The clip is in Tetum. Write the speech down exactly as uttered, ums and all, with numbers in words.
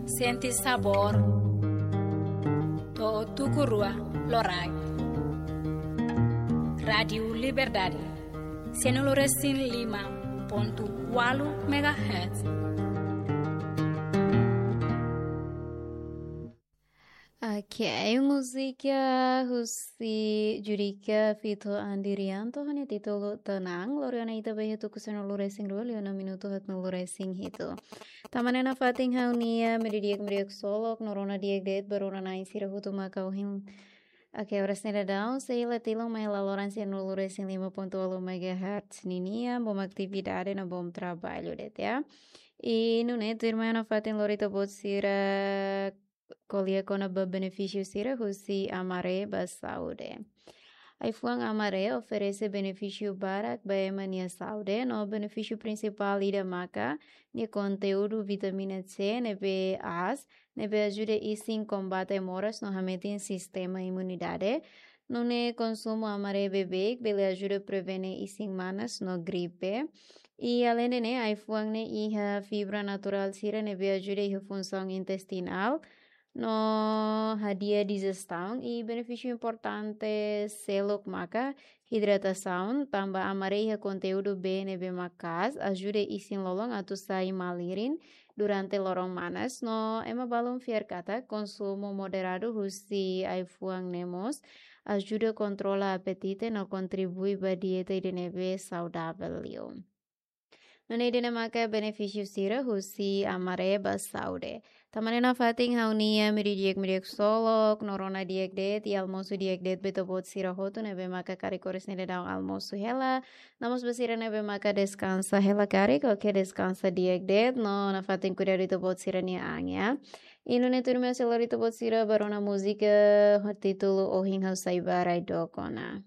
Sente sabór. To'o tuku rua loraik. Rádiu Liberdade, sianulu resin lima pontu ualu megahertz. Oke, múzika husi Judika feat Andirianto ho nia títulu Tenang, lori ona ita ba iha tuku sianulu resin rua, liu ona minutu haatnulu resin hitu. Tanba ne'e nafatin ha'u-nia mediodía di'ak, mediodía solok, no rona di'ak de'it ba rona-na'in sira hotu maka ohin. Oke, oras ne'e daudaun sei la tilun mai hela loron sianulu resin lima pontu ualu megahertz ninian, bom atividade no bom trabalho de'it, ya. I nune'e tuirmai nafatin lori ita-boot sira ko'alia kona-ba benefísiu sira husi Amaré ba saúde. Ai-fuan Amaré oferese benefísiu barak ba ema nia saúde, no benefísiu prinsipál ida maka nia konteúdu vitamina C ne'ebé aas, ne'ebé ajuda isin kombate moras no hametin sistema imunidade. Nune'e konsumu Amaré beibeik bele ajuda prevene isin manas no gripe. I aleinde ne'e, ai-fuan ne'e iha fibra naturál sira ne'ebé ajuda iha funsaun intestinál no hadi'a dijestaun. I benefísiu importante seluk maka hidratasaun, tanba Amaré iha konteúdu B ne'ebé maka'as, ajuda isin-lolon atu sai malirin durante loron manas. No ema balun fiar katak konsumu moderadu husi ai-fuan ne'e mós ajuda kontrola apetite no kontribui ba dieta ida ne'ebé saudavel liu. Nune'e ida-ne'e maka benefísiu sira husi Amaré ba saúde. Tanba ne'e nafatin ha'u-nia mediodía di'ak, mediodía solok, no rona di'ak de'it, i almosu di'ak de'it ba ita-boot sira hotu ne'ebé maka karik oras ne'e daudaun almosu hela. No mós ba sira ne'ebé maka deskansa hela karik, oke, deskansa di'ak de'it, no nafatin kuidadu ita-boot sira-nia an, ya. I nune'e tuirmai sei lori ita-boot sira ba rona múzika ho títulu Ohin Ha'u Sai Ba Rai Dook Ona.